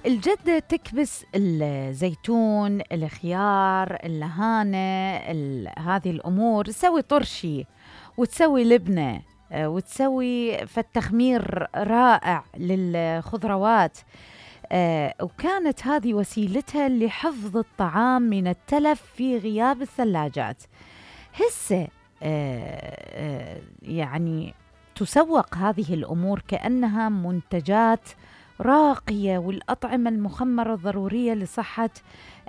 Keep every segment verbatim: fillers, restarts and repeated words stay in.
الجدة تكبس الزيتون، الخيار، اللهانة، هذه الأمور، تسوي طرشي وتسوي لبنة وتسوي فالتخمير رائع للخضروات. آه وكانت هذه وسيلتها لحفظ الطعام من التلف في غياب الثلاجات. هسه آه آه يعني تسوق هذه الأمور كأنها منتجات راقية، والأطعمة المخمرة ضرورية لصحة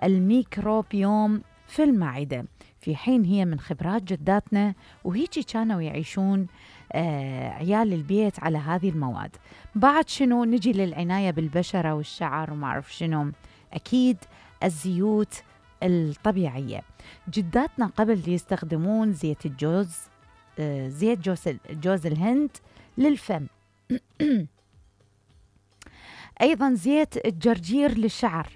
الميكروبيوم في المعدة، في حين هي من خبرات جداتنا وهيجي كانوا يعيشون آه عيال البيت على هذه المواد. بعد شنو نجي للعناية بالبشرة والشعر وما أعرف شنو، أكيد الزيوت الطبيعية. جداتنا قبل يستخدمون زيت الجوز، آه زيت جوز, جوز الهند للفم أيضا زيت الجرجير للشعر،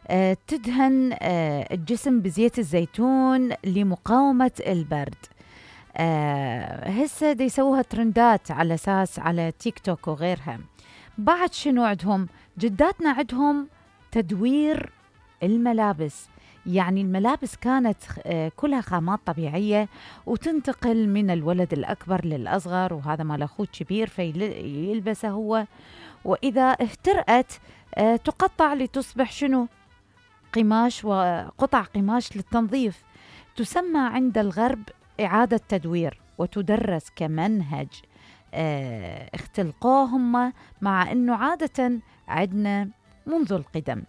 آه تدهن آه الجسم بزيت الزيتون لمقاومة البرد. آه هسه دي يسووها ترندات على أساس على تيك توك وغيرها. بعد شنو عندهم جداتنا؟ عندهم تدوير الملابس، يعني الملابس كانت آه كلها خامات طبيعية وتنتقل من الولد الأكبر للأصغر، وهذا مال أخوه كبير فيلبسه هو، وإذا اهترأت آه تقطع لتصبح شنو؟ قماش، وقطع قماش للتنظيف. تسمى عند الغرب إعادة تدوير وتدرس كمنهج آه اختلقوهم، مع أنه عادة عندنا منذ القدم.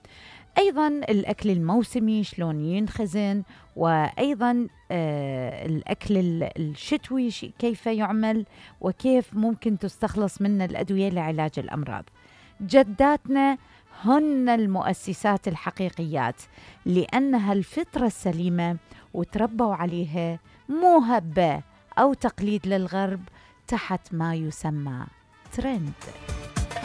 أيضا الأكل الموسمي شلون ينخزن، وأيضا آه الأكل الشتوي كيف يعمل وكيف ممكن تستخلص منه الأدوية لعلاج الأمراض. جداتنا هن المؤسسات الحقيقيات، لأنها الفطرة السليمة وتربوا عليها، مو هبة أو تقليد للغرب تحت ما يسمى ترند.